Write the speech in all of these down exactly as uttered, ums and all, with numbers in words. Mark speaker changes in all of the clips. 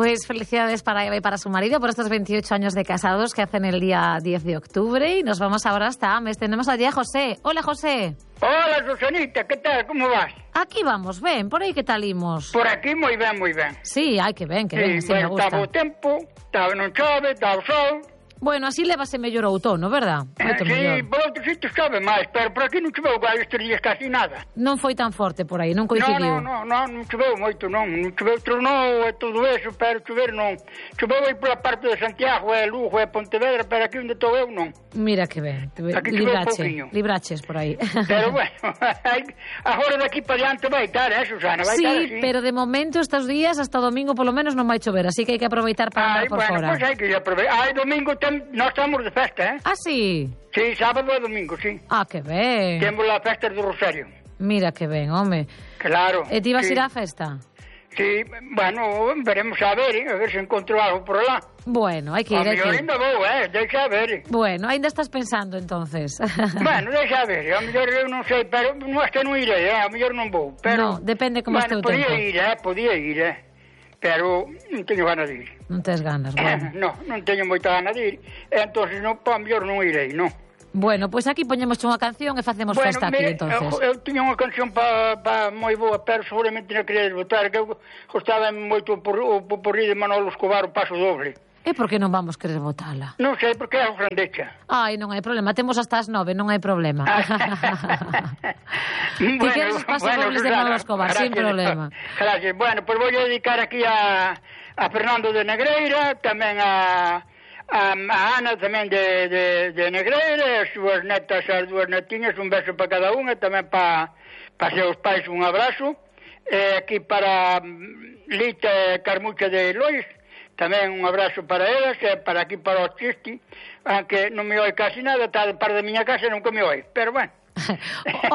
Speaker 1: Pues felicidades para Eva y para su marido por estos veintiocho años de casados que hacen el día diez de octubre. Y nos vamos ahora hasta Ames. Tenemos allí a José. Hola, José.
Speaker 2: Hola, Susanita, ¿qué tal? ¿Cómo vas?
Speaker 1: Aquí vamos, ven, por aí que tal imos?
Speaker 2: Por aquí moi ben, moi ben.
Speaker 1: Sí, ai, que ben, que
Speaker 2: sí,
Speaker 1: ben, sí,
Speaker 2: bueno,
Speaker 1: me gusta.
Speaker 2: Estaba o tempo, estaba non chove, estaba o sol.
Speaker 1: Bueno, así levase mellor o outono, verdad?
Speaker 2: Moito sí, mellor. Por outro sitio chove máis, pero por aquí non choveu estes días casi nada.
Speaker 1: Non foi tan forte por aí, non coincidiu?
Speaker 2: Non, non, non, non choveu moito, non. Non choveu tronou e todo eso, pero chover non. Choveu aí pola parte de Santiago, e Lugo, e Pontevedra, pero aquí onde estou eu non.
Speaker 1: Mira que ben,
Speaker 2: aquí
Speaker 1: librache, libraches por aí.
Speaker 2: Pero bueno, agora daqui para diante vai estar, eh, Susana, vai
Speaker 1: sí,
Speaker 2: estar así.
Speaker 1: Pero de momento estes días, hasta domingo polo menos non vai chover, así que hai que aproveitar para andar por
Speaker 2: bueno,
Speaker 1: fora.
Speaker 2: Pois hai que aproveitar. Ai, domingo tem, nós estamos de festa, eh?
Speaker 1: Ah, sí?
Speaker 2: Sí, sábado e domingo, sí.
Speaker 1: Ah, que ben.
Speaker 2: Temos a festa do Rosario.
Speaker 1: Mira que ben, home.
Speaker 2: Claro.
Speaker 1: E ti vas
Speaker 2: sí.
Speaker 1: ir á festa?
Speaker 2: Sí, bueno, veremos a ver, eh, a ver se encontro algo por lá.
Speaker 1: Bueno, hai que ir, hai que ir.
Speaker 2: A mellor ainda vou, eh, deixa ver.
Speaker 1: Bueno, ainda estás pensando, entonces.
Speaker 2: Bueno, deixa ver, a mellor eu non sei, pero non é que non irei, eh, a mellor non vou. Pero,
Speaker 1: no, depende como
Speaker 2: bueno,
Speaker 1: este o
Speaker 2: tempo. Podía ir, eh, podía ir, eh. Pero non teño ganas de ir.
Speaker 1: Non tes ganas, bueno.
Speaker 2: no, non teño moita ganas de ir, entonces non, pa mellor non irei, non.
Speaker 1: Bueno, pois pues aquí poñemos unha canción e facemos
Speaker 2: bueno,
Speaker 1: festa aquí, entonces.
Speaker 2: Eu, eu tiña unha canción pa, pa moi boa, pero seguramente non quería votar, que eu gostaba moito por, o porri de Manolo Escobar, o Paso Doble.
Speaker 1: E por que non vamos querer votala?
Speaker 2: Non sei, porque é a grandecha.
Speaker 1: Ai, non hai problema, temos hasta as nove, non hai problema.
Speaker 2: bueno,
Speaker 1: que queres os Pasos bueno, Dobles de Manolo Escobar, gracias, sin problema.
Speaker 2: Gracias. Bueno, pois pues vou dedicar aquí a, a Fernando de Negreira, tamén a... A, a Ana tamén de, de, de Negreira, as súas netas, as dúas netiñas, un beso para cada unha, tamén para pa seus pais un abrazo. E aquí para Lita e Carmucha de Lois, tamén un abrazo para elas, e para aquí para os Chisti, aunque non me oi casi nada, está de par da miña casa e nunca me oi, pero bueno.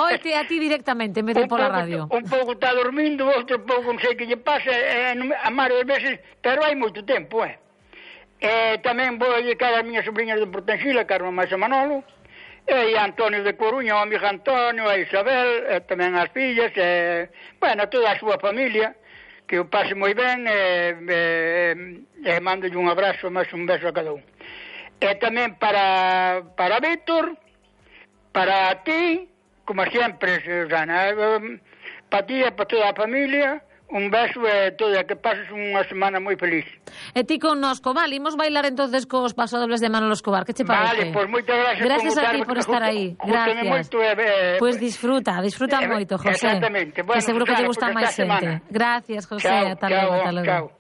Speaker 1: Oite a ti directamente, en vez de pola radio.
Speaker 2: Un pouco está dormindo, outro pouco non sei que lle pasa, e, a máis veces, pero hai moito tempo, eh. E tamén vou dedicar as miñas sobrinhas de Portensila, Carmen máis a Manolo, e a Antonio de Coruña, o amigo Antonio, a Isabel, e tamén as fillas, e, bueno, toda a súa familia, que o pase moi ben, e, e, e mando un abrazo, máis un beso a cada un. E tamén para, para Víctor, para ti, como sempre, Susana, para ti e para toda a familia, un beso e todo, que pases unha semana moi feliz.
Speaker 1: E ti connosco, vale, imos bailar entonces cos Pasodobles de Manolo Escobar, que che parece?
Speaker 2: Vale, pois moitas gracias.
Speaker 1: Gracias a ti por estar aí, gracias.
Speaker 2: Moito, eh,
Speaker 1: pois disfruta, disfruta eh, moito, José.
Speaker 2: Exactamente. Bueno,
Speaker 1: que seguro que te gusta máis xente. Gracias, José, ata logo, ata logo.